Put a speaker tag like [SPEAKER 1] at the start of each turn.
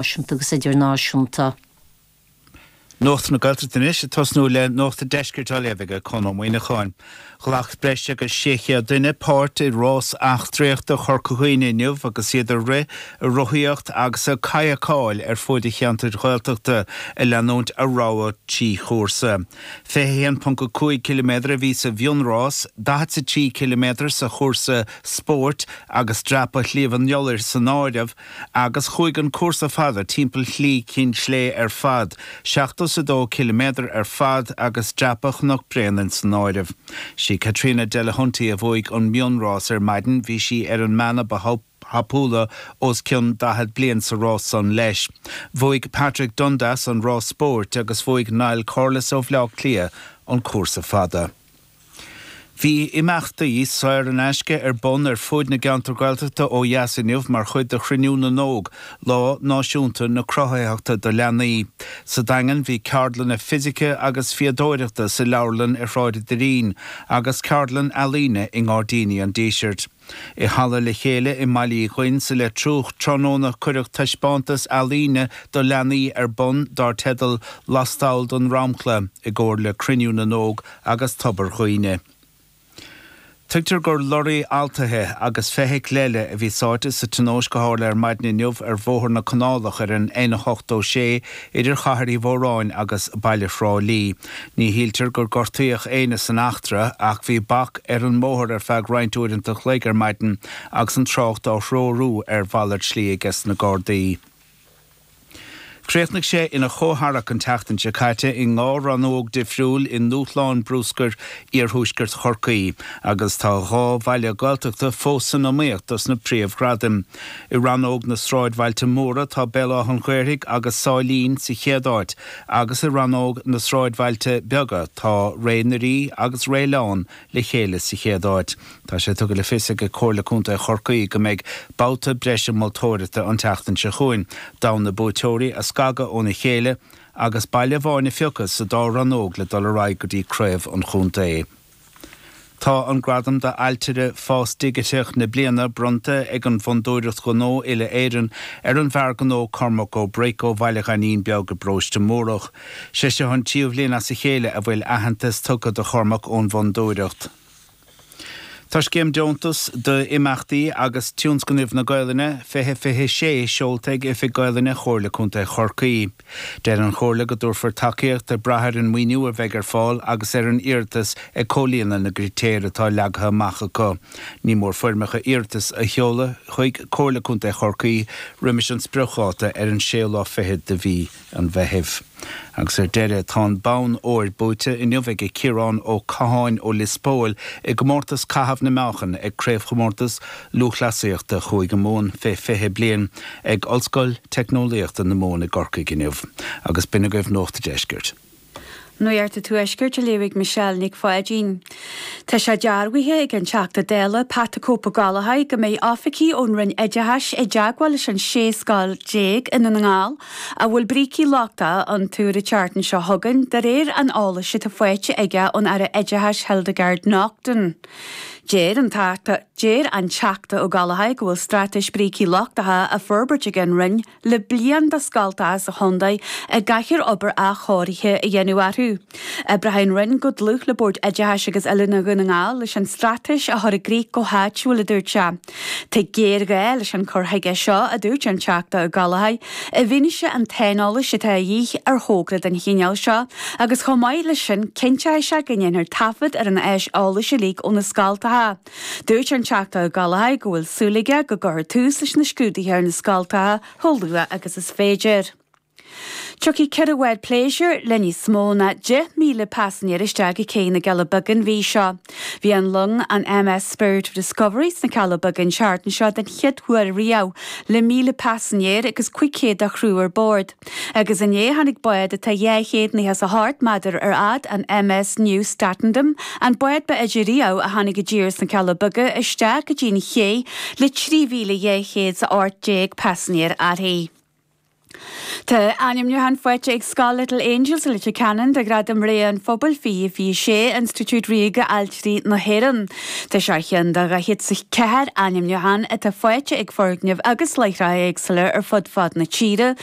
[SPEAKER 1] Náisiúnta agus Idirnáisiúnta.
[SPEAKER 2] Nuacht na Gaeltachta anois, ag tosnú le Nuacht an Deiscirt á léamh ag Conn Ó Muíneacháin. Ghlac breis agus 600 duine páirt i rás eachtraíochta Chorca Dhuibhne inniu agus iad ag rith, ag rothaíocht agus ag cadhcáil ar fuaid an cheantair Ghaeltachta ag leanúint a rogha 3 chúrsa. 21.5 ciliméadar a bhí sa mhionrás, 43 ciliméadar sa chúrsa spóirt agus dreapadh Shliabh an Iolair san áireamh, Agus chuaigh an cúrsa fada timpeall Shlí Chinn Slé ar fad, 72 ciliméadar ar fad agus dreapadh Chnoc Bréanainn san áireamh. Sí Caitríona Delahunty a bhuaigh an mionrás ar maidin, bhí sí ar an mbean a ba thapúla os cionn 40 bliain sa rás san leis. Bhuaigh Patrick Dundas an rás spóirt agus bhuaigh Niall Corless ó Bhleá Cliath an cúrsa fada. Bhí imeachtaí saor in aisce ar bun ar fuaid na gceantar Gaeltachta ó dheas inniu mar chuid de Chruinniú na nÓg, Lá Náisiúnta na Cruthaitheachta do Leanaí. Sa Daingean bhí ceardlanna fisice agus fíodóireachta sa leabharlann ar Shráid an Doirín agus ceardlann ealaíne i nGairdíní an Dísirt. I Halla Le Chéile i mBaile Uí Dhuinn sa Leitriúch tráthnóna cuireadh taispeántas ealaíne do leanaí ar bun dar teideal 'Lastall den Dromchla' i gcomhar le Cruinniú na nÓg agus Tobar Dhuibhne. Tuigtear gur lorraí altaithe agus feithicil eile a bhí sáite sa tionóisc a tharla ar maidin inniu ar Bhóthar na Canálach ar an N86 idir Chathair Uí Mhóráin agus baile Thrá Lí. Ní shíltear gur gortaíodh éinne san eachtra ach bhí bac ar an mbóthar ar feadh roinnt uaireanta an chloig ar maidin agus an trácht á threorú ar mhalairt slí aige na Gardaí. Chríochnaigh sé ina chomhtharrac an tseachtain seo caite i ndhá rannóg difriúil i nDúshlán Bruscair Iarthuaisceart Chorcaí agus tá dhá bhaile Gaeltachta fós san iomaíocht dos na príomhghradaim. I rannóg na sráidbhailte móra tá Béal Átha an Ghaorthaidh agus Sáilín sa chéad áit agus i rannóg na sráidbhailte beaga tá Ré na Rí agus Réileán le chéile sa chéad áit. Tá sé tugtha le fios ag Comhairle Contae Chorcaí go mbeidh babhta breise moltóireachta an tseachtain seo chugainn d'fhonn na buaiteoirí a scagadh óna chéile agus baile amháin a phiocadh sa dá rannóg le dul ar aghaidh go dtí craobh an chontae. Tá an gradam d'Ailtire Fás Digiteach na Bliana bronnta ag an bhFondúireacht Ghnó Uile-Éireann ar an bhfear gnó Cormac Ó Bric ó Bhaile Ghainín Beag i bparóiste Múrach. Sé seo an tríú bhliain as a chéile a bhfuil aitheantas tugtha do Chormac ón bhFondúireacht. Tá scéim deontas d'imeachtaí agus tionscnaimh na Gaelainne 2026 seolta ag Oifig Gaelainne Chomhairle Contae Chorcaí. Deir an Chomhairle go dtabharfar tacaíocht ag brath ar an maoiniú a bheidh ar fáil agus ar an iarratas ag comhlíonadh na gcritéar atá leagtha amach acu. Ní mór foirmeacha iarratais a sheoladh chuig Comhairle Contae Chorcaí roimis an spriocdháta ar an séú lá fichead de mhí an Mheithimh. Agus ar deireadh, tá an bonn óir buaite inniu ag Ciarán Ó Catháin ó Lios Póil i gcomórtas caitheamh na meáchan ag Craobhchomórtas Lúthchleasaíochta Chúige Mumhan fé 20 bliain ag Ollscoil Teicneolaíochta na Mumhan i gCorcaigh inniu. Agus b'in agaibh Nuacht a' Deiscirt.
[SPEAKER 3] Nuacht an Tuaiscirt á léamh ag Michelle Nic Pháidín. Tá sé dearbhaithe ag an Teachta Dála Pat 'The Cope Ó Gallchóir go mbeidh oifigigh ón Roinn Oideachais i dteagmháil leis an 16 scoil i nDún na nGall a bhfuil brící lochtacha iontu ar an tseachtain seo chugainn, de réir an eolais atá faighte aige ón Aire Oideachais Hildegarde Naughton. Deir an Deir an Teachta Ó Gallchóir go bhfuil straitéis brící lochtacha á forbairt ag an Roinn le bliain do scoltacha sa chontae a gcaithfear obair athchóirithe a dhéanamh orthu. Oibreoidh an Roinn go dlúth le Bord Oideachais agus Oiliúna Dhún na nGall leis an straitéis a chur i gcrích go háitiúil, a dúirt sé. Tá géarghá leis an chur chuige seo, a dúirt an Teachta Ó Gallchóir, i bhfianaise an tsaineolais atá a dhíth ar thogra den chineál seo agus chomh maith leis sin cinnteoidh sé go ndéanfar taifead ar an áis eolais uilig ó na scoltacha. Dúirt an Teachta Ó Gallchóir go bhfuil súil aige go gcuirfear tús leis na scrúduithe ar na scoltacha chomh luath agus is féidir. Tiocfaidh 4 bhád pléisiúir le níos mó ná 10,000 paisinéir isteach go cé na gCealla Beaga an mhí seo. Bhí an long, an MS Spirit of Discovery, sna Cealla Beaga an tseachtain seo den chéad uair riamh, le 1,000 paisinéir agus 500 de chriú ar bord. Agus inné tháinig bád atá 298 méadar ar fhad, an MS Nieuw Statendam, an bád ba fhaide riamh a tháinig i dtír sna Cealla Beaga, isteach go dtí an ché le 3,218 paisinéir uirthi. Tá ainmniúchán faighte ag Scoil Little Angels i Leitir Ceanainn do Ghradam Rogha an Phobail 2026, Institiúid Ríoga Ailtirí na hÉireann. Tá sé ar cheann de 44 ainmniúchán atá faighte ag foirgnimh agus láithreacha éagsúla ar fud fad na tíre.